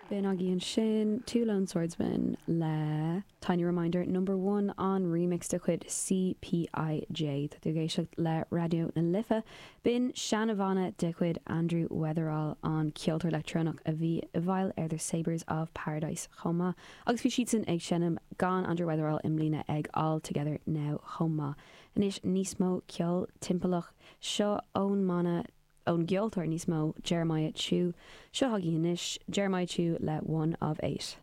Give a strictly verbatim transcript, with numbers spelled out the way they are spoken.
B'in agaibh ansin Two Lone Swordsmen le Tiny Reminder number one an remix de chuid CPIJ Tá tú ag éisteacht le Raidió na Life. B'in seanbhanna de chuid Andrew Weatherall an ceoltóir leictreonach a bhí i bhfeighil ar The Sabres of Paradise chomh maith. agus bhí siadsan ag seinm gan Andrew Weatherall i mbliana ag All Together Now chomh maith. Anois níos mó ceol timpeallach seo ón mbanna ón gceoltóir níos mó Jeremiah Chiu seo agaibh anois Jeremiah Chiu le one of eight.